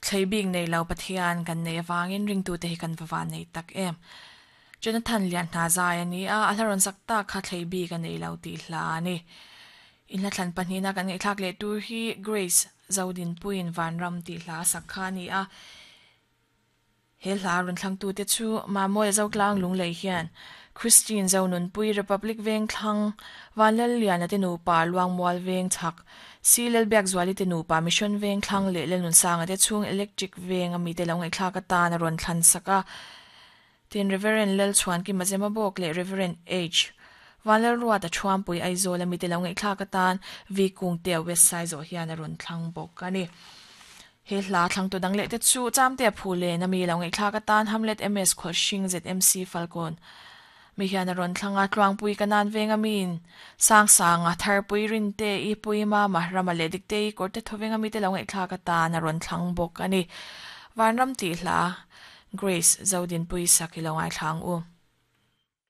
Thlei bik nei lo Pathian kan nei avangin ringtute hi kan va van nei tak em. Jonathan lian hna zai a ni a, a hla rawn sak tak kha thlei bik a nei lo tih hla a ni. Inhla thlan pahnihna kan ngaihthlak leh tur hi Grace Zodinpuiin Vanram tih hla a sak kha a ni a. He hla rawn thlangtute chu Mamawia Zotlang Lunglei hian Christine Zonunpui Republic Vengthlang, Vanlalliana te nupa Luangmual Vengchhak, Si Lalbiakzuali te nupa Mission Vengthlang leh Lalnunsanga te chhung Electric Veng a mite lo ngaihthlak atan a rawn thlan sak a. Tin, Rev. Lalchhuankima Zemabawk leh Rev. H. Vanlalruata Thuampui Aizawl a mite lo ngaihthlak atan V. Kungtea West Saizawh hian a rawn thlang bawk a ni. He hla thlangtu dang leh te chu Chamtea Phulen a mi lo ngaihthlak atan Hamlet MS Khawlhring ZMC Falkawn mi hian a rawn thlang a, Tluangpui ka nan veng a miin Sangsanga Tharpui Rinte i Pui Mama Rama leh Dikte i Kawrte Thawveng a mite lo ngaihthlak atan a rawn thlang bawk a ni. Vanram tih hla Grace Zodinpui sak i lo ngaithla ang u.